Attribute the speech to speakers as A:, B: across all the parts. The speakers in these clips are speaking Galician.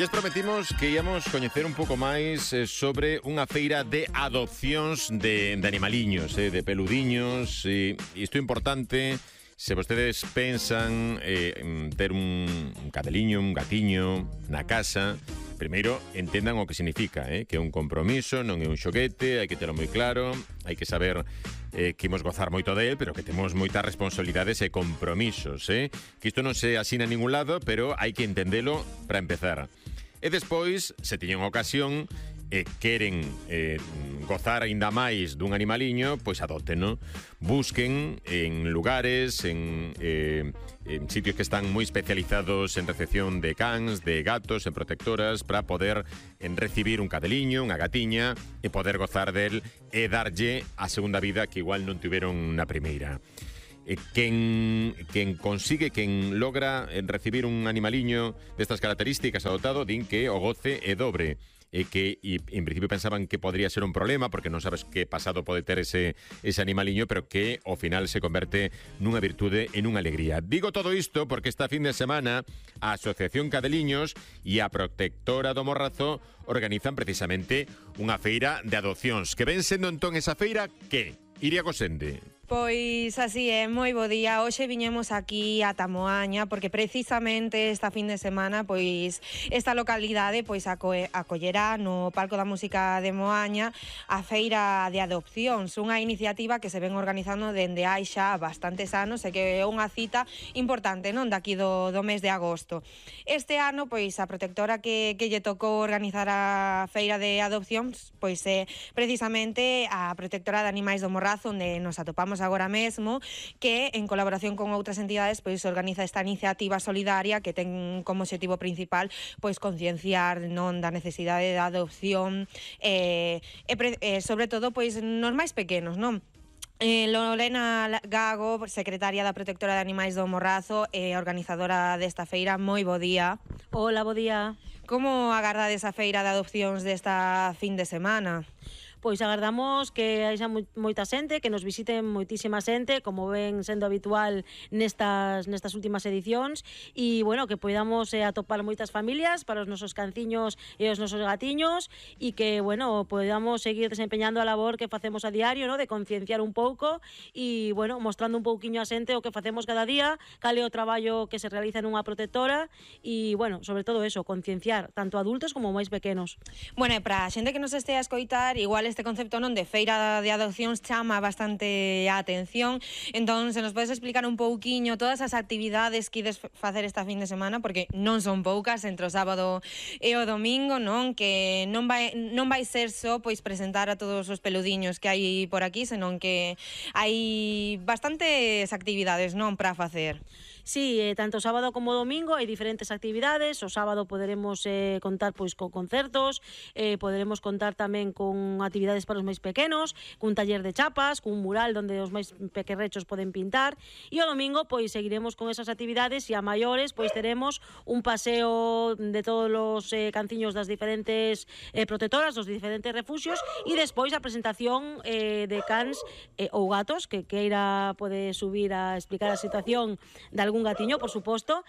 A: Lles prometimos que íamos coñecer un pouco máis sobre unha feira de adopcións de animaliños, de peludiños. Isto é importante se vostedes pensan ter un cadeliño, un gatiño na casa. Primeiro, entendan o que significa, que é un compromiso, non é un xoguete, hai que terlo moi claro, hai que saber que imos gozar moito del, pero que temos moitas responsabilidades e compromisos, que isto non se asina en ningún lado, pero hai que entendelo para empezar. E despois, se teñen ocasión e queren gozar aínda máis dun animaliño, pois adóteno. Busquen en lugares, en sitios que están moi especializados en recepción de cans, de gatos, en protectoras, para poder recibir un cadeliño, unha gatiña, e poder gozar del e darlle a segunda vida que igual non tiveron na primeira. Quen consigue, quen logra recibir un animaliño destas características adoptado, din que o goce é dobre, e que en principio pensaban que podría ser un problema porque non sabes que pasado pode ter ese animaliño, pero que ao final se converte nunha virtude e nunha alegría. Digo todo isto porque esta fin de semana a Asociación Cadeliños e a Protectora do Morrazo organizan precisamente unha feira de adopcións. Que ven sendo entón esa feira que? Iria Gosende.
B: Pois así é, moi bo día. Hoxe viñemos aquí a Tamoaña porque precisamente esta fin de semana pois esta localidade pois acollerá no Palco da Música de Moaña a feira de adopcións, unha iniciativa que se ven organizando dende hai xa bastantes anos e que é unha cita importante, non, daqui do mes de agosto. Este ano pois a protectora que lle tocou organizar a feira de adopcións pois é precisamente a Protectora de Animais do Morrazo, onde nos atopamos agora mesmo, que en colaboración con outras entidades pois organiza esta iniciativa solidaria que ten como obxectivo principal pois concienciar, non, da necesidade da adopción sobre todo pois nos máis pequenos, non? Lorena Gago, secretaria da Protectora de Animais do Morrazo e organizadora desta feira, moi bo día.
C: Hola, bo día.
B: Como agardades a feira de adopcións desta fin de semana?
C: Pois agardamos que haxa moita xente, que nos visiten moitísima xente, como ven sendo habitual nestas últimas edicións, e, bueno, que podamos atopar moitas familias para os nosos canciños e os nosos gatiños, e que, bueno, podamos seguir desempeñando a labor que facemos a diario, ¿no?, de concienciar un pouco e, bueno, mostrando un pouquiño a xente o que facemos cada día, cal é o traballo que se realiza nunha protectora e, bueno, sobre todo eso, concienciar tanto adultos como máis pequenos.
B: Bueno, e para a xente que nos este a escoitar, igual este concepto, non, de feira de adopcións chama bastante a atención. Entón, se nos podes explicar un pouquiño todas as actividades que ides facer esta fin de semana, porque non son poucas, entre o sábado e o domingo, non, que non vai ser só pois presentar a todos os peludiños que hai por aquí, senón que hai bastantes actividades, non, para facer.
C: Sí, tanto sábado como domingo hai diferentes actividades. O sábado poderemos contar pois con concertos, poderemos contar tamén con actividades para os máis pequenos, cun taller de chapas, cun mural onde os máis pequerrechos poden pintar, e o domingo pois seguiremos con esas actividades, e a maiores pois teremos un paseo de todos os canciños das diferentes protectoras, dos diferentes refuxios, e despois a presentación de cans ou gatos, que queira pode subir a explicar a situación de algún gatiño, por suposto,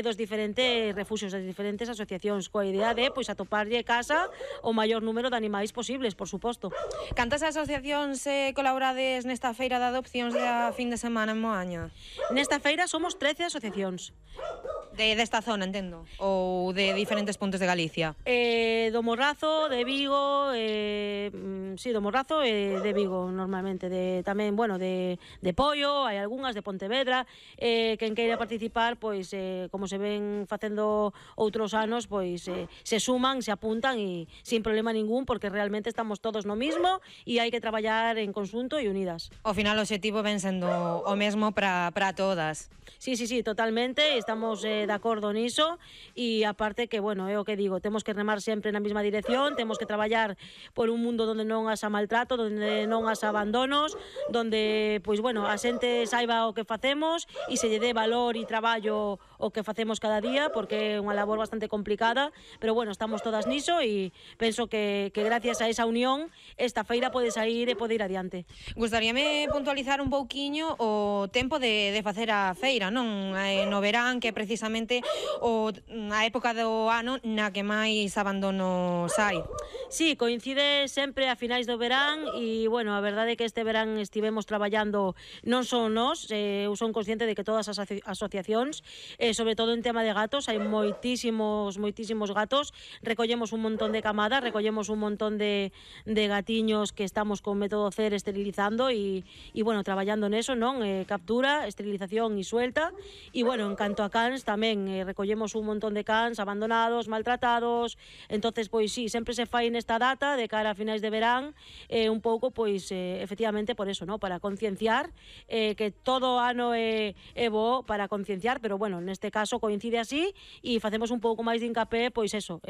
C: dos diferentes refuxios, das diferentes asociacións, coa idea de pois atoparlle casa o maior número de animais posibles, por suposto.
B: Cantas asociacións colaborades nesta feira de adopcións da fin de semana en Moaña?
C: Nesta feira somos 13 asociacións.
B: Desta zona, entendo? Ou de diferentes puntos de Galicia?
C: Do Morrazo, de Vigo, sí, do Morrazo e de Vigo, normalmente. Tamén, bueno, de Pollo, hai algunhas de Pontevedra, quen queira participar, pois, como se ven facendo outros anos, pois, se suman, se apuntan e sin problema ningún, porque realmente estamos todos no mismo e hai que traballar en conxunto e unidas.
B: Ao final o obxectivo ven sendo o mesmo para todas.
C: Sí, totalmente, estamos de acordo niso, e aparte que, bueno, é o que digo, temos que remar sempre na mesma dirección, temos que traballar por un mundo onde non haxa maltrato, onde non haxa abandonos, onde, pois, bueno, a xente saiba o que facemos e se lle dé valor valor e traballo o que facemos cada día, porque é unha labor bastante complicada, pero bueno, estamos todas niso e penso que gracias a esa unión esta feira pode sair e pode ir adiante.
B: Gustaríame puntualizar un pouquiño o tempo de facer a feira, non? No verán, que é precisamente a época do ano na que máis abandonos hai.
C: Sí, coincide sempre a finais do verán e, bueno, a verdade é que este verán estivemos traballando non só nós, eu son consciente de que todas as asociacións, sobre todo en tema de gatos, hai moitísimos gatos, recollemos un montón de camadas, recollemos un montón de gatiños que estamos con método CER esterilizando e bueno, traballando neso, non? Captura, esterilización e suelta, e, bueno, en canto a cans tamén recollemos un montón de cans abandonados, maltratados, entonces, pois sí, sempre se fai nesta data de cara a finais de verán, un pouco, pois, efectivamente, por eso, ¿no? Para concienciar, que todo ano é bo para concienciar, pero, bueno, neste caso coincide así e facemos un pouco máis de hincapé, pois eso,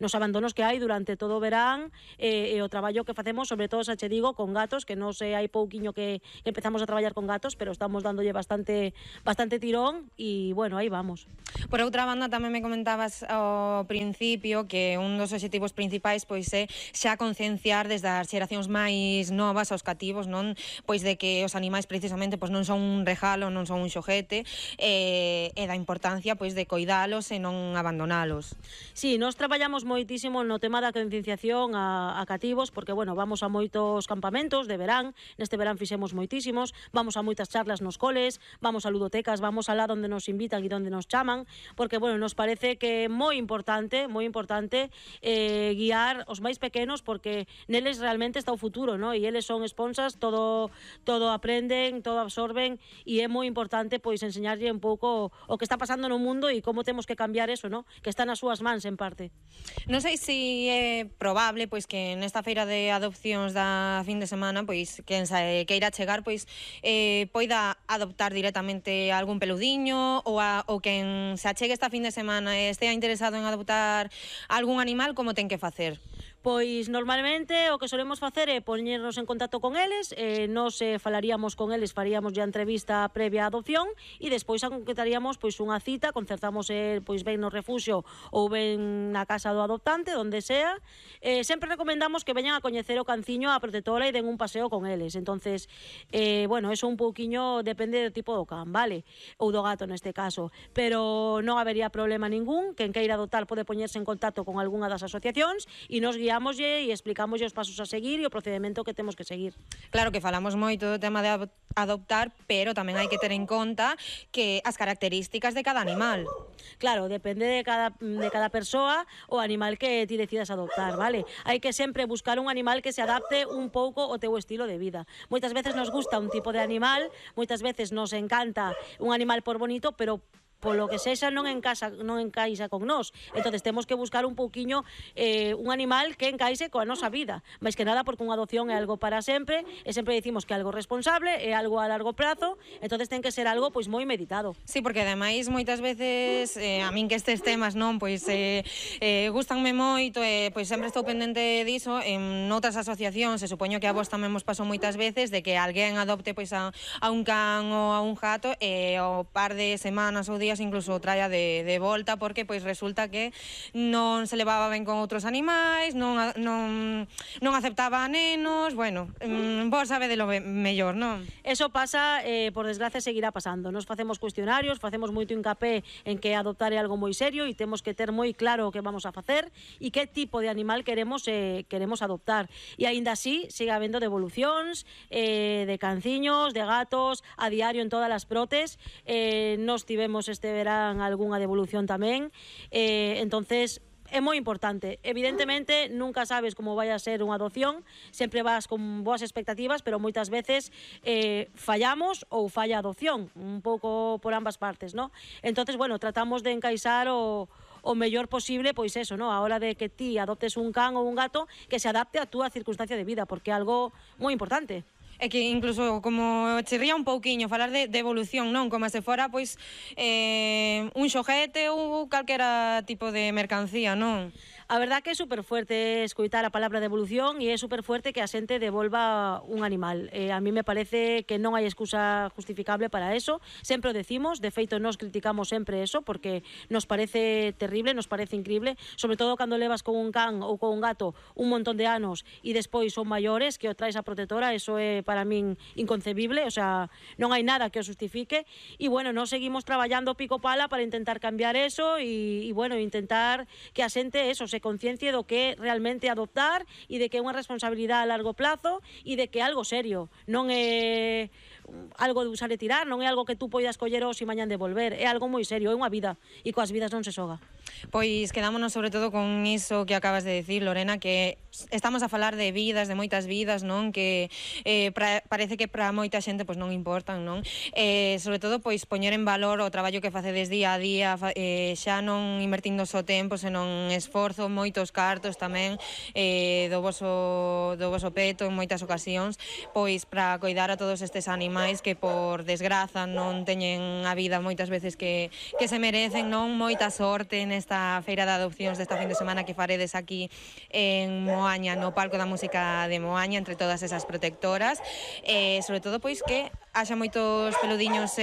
C: nos abandonos que hai durante todo o verán e o traballo que facemos, sobre todo, xa che digo, con gatos, que non sei, hai pouquiño que empezamos a traballar con gatos, pero estamos dándolle bastante tirón e, bueno, aí vamos.
B: Por outra banda, tamén me comentabas ao principio que un dos obxectivos principais pois é xa concienciar desde as xeracións máis novas aos cativos, non? Pois de que os animais precisamente pois non son un regalo, non son un xoguete, e da importancia pois de coidalos e non abandonalos.
C: Sí, nós traballamos moitísimo no tema da concienciación a cativos, porque, bueno, vamos a moitos campamentos de verán, neste verán fixemos moitísimos, vamos a moitas charlas nos coles, vamos a ludotecas, vamos alá onde nos invitan e onde nos chaman, porque, bueno, nos parece que é moi importante guiar os máis pequenos, porque neles realmente está o futuro, ¿no? E eles son esponsas, todo aprenden, todo absorben, e é moi importante pois enseñarlle un pouco o que está pasando no mundo e como temos que cambiar eso, ¿no? Que está nas súas mans en parte.
B: Non sei se é probable pois que nesta feira de adopcións da fin de semana, pois quen queira chegar, pois poida adoptar directamente algún peludiño ou quen se achegue esta fin de semana e estea interesado en adoptar algún animal, como ten que facer?
C: Pois normalmente o que solemos facer é poñernos en contacto con eles, nos falaríamos con eles, faríamos a entrevista previa á adopción e despois concretaríamos pois unha cita, concertamos pois ben no refuxio ou ben na casa do adoptante, onde sea. Sempre recomendamos que veñan a coñecer o canciño, a protectora e den un paseo con eles. Entonces, bueno, eso un pouquiño depende do tipo do can, vale? Ou do gato neste caso, pero non habería problema ningún. Quen queira adoptar pode poñerse en contacto con algunha das asociacións e nos guiámoslle e explicámoslle os pasos a seguir e o procedimento que temos que seguir.
B: Claro que falamos moito do tema de adoptar, pero tamén hai que ter en conta que as características de cada animal.
C: Claro, depende de cada persoa o animal que ti decidas adoptar, vale? Hai que sempre buscar un animal que se adapte un pouco ao teu estilo de vida. Moitas veces nos gusta un tipo de animal, moitas veces nos encanta un animal por bonito, pero polo que sexa non encaixa con nós. Entonces temos que buscar un pouquiño un animal que encaixe coa nosa vida. Mais que nada porque unha adopción é algo para sempre, e sempre dicimos que é algo responsable, é algo a largo prazo, entonces ten que ser algo pois moi meditado.
B: Sí, porque ademais moitas veces a min que estes temas non pois gustanme moito e pois sempre estou pendente diso. En outras asociacións, se supoño que a vos tamén vos pasou moitas veces de que alguén adopte pois a un can ou a un gato e ao par de semanas ou días incluso traia de volta porque pois resulta que non se levaba ben con outros animais, non aceptaba a nenos, bueno, vos sabedelo mellor, non?
C: Eso pasa, por desgracia seguirá pasando. Nos facemos cuestionarios, facemos moito hincapé en que adoptar é algo moi serio e temos que ter moi claro o que vamos a facer e que tipo de animal queremos adoptar. E aínda así sigue habendo devolucións de canciños, de gatos, a diario en todas as protes. Nos tivemos este verán algunha devolución tamén, entonces é moi importante. Evidentemente nunca sabes como vai a ser unha adopción, sempre vas con boas expectativas, pero moitas veces fallamos ou falla a adopción, un pouco por ambas partes, ¿no? Entonces, bueno, tratamos de encaixar o mellor posible, pois eso, ¿no? A hora de que ti adoptes un can ou un gato que se adapte a túa circunstancia de vida, porque é algo moi importante.
B: É que incluso como chirría un pouquiño falar de evolución, non? Como se fora pois un xoguete ou calquera tipo de mercancía, non?
C: A verdad que é super fuerte escoitar a palabra devolución e é super fuerte que a xente devolva un animal. A mí me parece que non hai excusa justificable para eso. Sempre o decimos, de feito nos criticamos sempre eso porque nos parece terrible, nos parece increíble, sobre todo cando levas con un can ou con un gato un montón de anos e despois son maiores que o traes a protectora, eso é para min inconcebible, o sea, non hai nada que o justifique e bueno, nos seguimos traballando pico pala para intentar cambiar eso e bueno, intentar que a xente eso se conciencia do que é realmente adoptar e de que é unha responsabilidade a largo plazo e de que é algo serio, non é algo de usar e tirar, non é algo que tú poidas coller hoxe e mañán devolver, é algo moi serio, é unha vida e coas vidas non se xoga.
B: Pois quedámonos sobre todo con iso que acabas de decir, Lorena, que estamos a falar de vidas, de moitas vidas, non? Que parece que para moita xente pois non importan, non? Sobre todo pois poñer en valor o traballo que facedes día a día, xa non invertindo só tempo, senón esforzo, moitos cartos tamén do voso peto en moitas ocasións, pois para coidar a todos estes animais que por desgraza non teñen a vida moitas veces que se merecen, non? Moita sorte nesta feira de adopcións desta fin de semana que faredes aquí en Moaña, no Palco da Música de Moaña, entre todas esas protectoras, sobre todo pois que haxa moitos peludiños,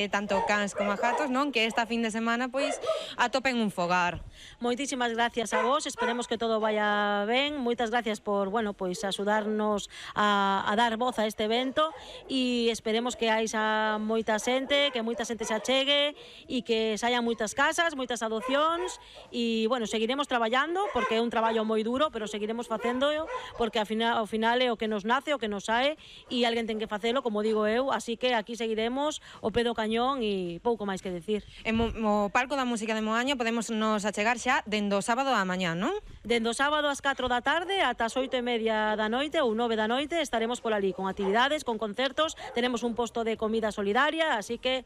B: tanto cans como gatos, non? Que esta fin de semana pois atopen un fogar.
C: Moitísimas gracias a vos, esperemos que todo vaya ben, moitas gracias por, bueno, pois axudarnos a dar voz a este evento e esperemos que haxa moita xente, que moita xente se achegue e que saian moitas casas, moitas adopcións e, bueno, seguiremos traballando porque é un traballo moi duro, pero seguiremos facéndolo porque ao final é o que nos nace, o que nos sae e alguén ten que facelo, como digo eu, así que aquí seguiremos o pé do cañón e pouco máis que decir.
B: En o Palco da Música de Moaña podemos nos achegar xa dende o sábado á mañá, non?
C: Dende o sábado ás 4 da tarde ata as 8:30 da noite ou 9 da noite estaremos por ali con actividades, con concertos, tenemos un posto de comida solidaria, así que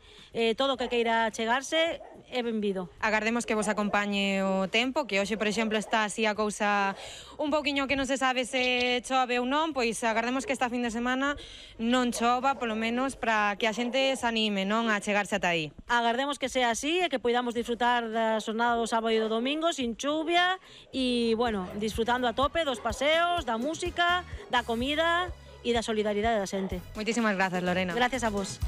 C: todo o que queira chegarse é benvido.
B: Agardemos que vos acompañe o tempo, que hoxe, por exemplo, está así a cousa un pouquiño que non se sabe se chove ou non, pois agardemos que esta fin de semana non chova, polo menos para que a xente se anime, non, a chegarse ata aí.
C: Agardemos que sea así e que poidamos disfrutar da xornada do sábado e do domingo sin chuvia e, bueno, disfrutando a tope dos paseos, da música, da comida e da solidaridade da xente.
B: Moitísimas grazas, Lorena.
C: Gracias a vos.